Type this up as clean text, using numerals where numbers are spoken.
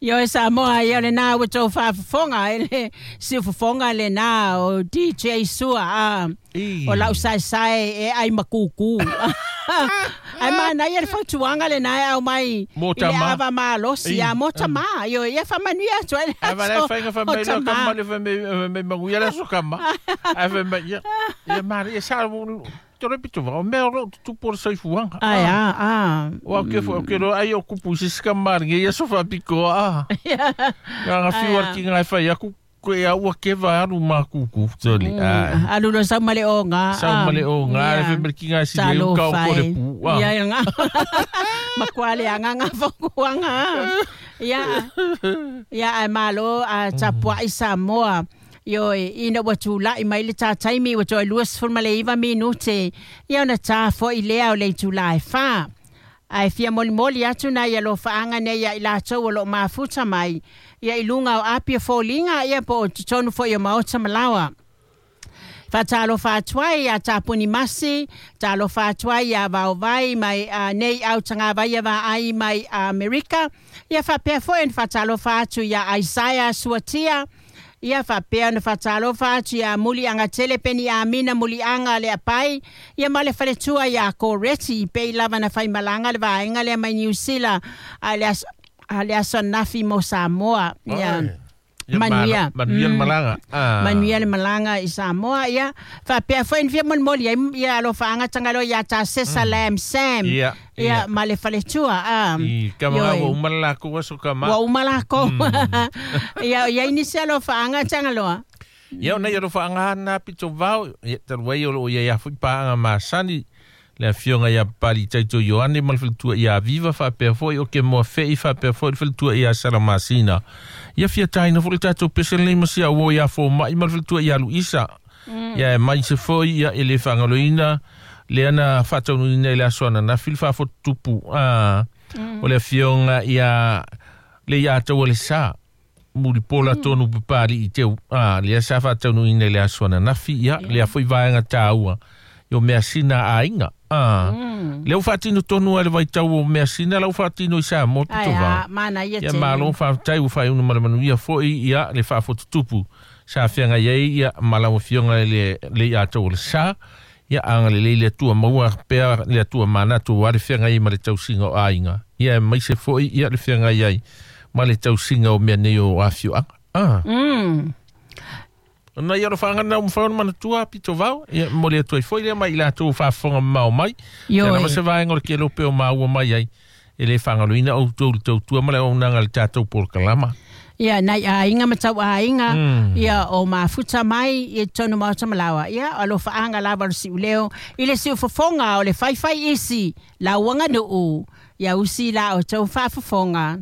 Ioe Samoa, ia lenā ua tou faafofoga i le siufofoga lenā o DJ Sua a o lau saesae e ai ma kukū. Ae manaia le fautuaga lenā e aumai Mo i le tama. ava malosi I. a mo tamā. Ioe, ia faamanuia atu ai le Ae valea aso faiga fai o mai lea tamā. kama le fai mai mai manuia le aso kama. Ae fai mai ia ia manaia sa tore pito va o mea o loo tutupu o le soifuaga. Ae a a. Ua ke fo ke ro ai o kupu i se isi kamaliga ia aso faapitoa a. Nga Ae fiu a. al ki ngai fai aku koe a ua keva alu makuku toli. Ai. Alu loa sau ma le oga. Sau ma le oga le Ia. fai mai ki ngai si le uka o Talofa ko le e. pu. Ah. Ia nga. Makuā leaga gafokuaga. Ia. Ia ae malo a tapuaʻi Samoa. Ioe, ina ua tulaʻi mai le tataimi ua toe 29 minute. Ia ona tā foʻi lea o le itulā e 4. Ae fia molimoli atu nai alofaaga nei ia i latou o loo mafuta mai. Ia i luga o api o foliga ia po o totonu foʻi o maota malaoa. Faatalofa atu ai iā Tapuni Masi, talofa atu ai iā Vaovai mai a, nei au tagavaia vaai mai Amerika. Ia faapea foʻi ona faatalofa atu iā Isaiah Suatia. Ia faapea ona faatalofa atu iā Muliagatele Peni Amina Muliaga le apai. Ia ma le faletua iā Koreti pei lava na faimalaga le vaega lea mai Niusila a le aso a le aso anafi mo Samoa. Ia. Ai. Ia Manuia. Manuia le malaga. Ah. Manuia le malaga i Samoa ia faapea foi ona fia molimoli ai ia alofaaga tagaloa iā Tasesa Lam Sam. Ia, Ia ia. ma le faletua a. I kama Ioe. ua uma le lakou aso kama. Ua uma lakou. Ia iai nisi alofaaga tagaloa. Ia ona ia alofaaga na pito vao ia talu ai o loo iai afoʻi paaga masani le afioga iā Papali'i Taito Ioane ma le faletua iā Viva faapea foʻi o ke moafeʻi faapea foʻi le faletua iā Salamasina. Ia fia taina foʻi le tatou pese lenei ma sia uo iā Fomaʻi ma le faletua iā Luisa. Ia e mai se foʻi ia e lē faagaloina lea na faataunuuina i le aso ananafi le faafotutupu a o le afioga ia le iā taua le sa mulipola tonu Papali'i teu a lea sa faataunuuina i le aso ananafi ia lea foʻi vaega tāua i o measina aiga a lea ua faatino tonu ai le vaitau o measina la ua faatino i Samoa Ae pito a vao. manaia Ia tele. malo faafetai ua faaiuna ma le manuia foʻi ia le faafotutupu sa feagai ai ia ma lau afioga i le le iā tau o le sa ia agalelei le Atua maua pea le Atua manatu ua le feagai ai ma le tausiga o aiga ia e maise foʻi ia le feagai ai ma le tausiga o mea nei o afioaga a. Ona ia alofaaga na umafai ona manatua pito vao ia mo le atu ai foʻi lea mai i latou faafofoga mamao mai. Ia lava Ioe. se vaega o le kelope o maua mai ai e lē faagaloina outou le tautua ma le auaunaga le tatou polokalama. Ia nai aiga ma tau aiga ia o mafuta mai i totonu maota malaoa. Ia alofaaga lava o le siuleo i le siufofoga o le faifai isi lauaganuu. Ia usi la o tou faafofoga.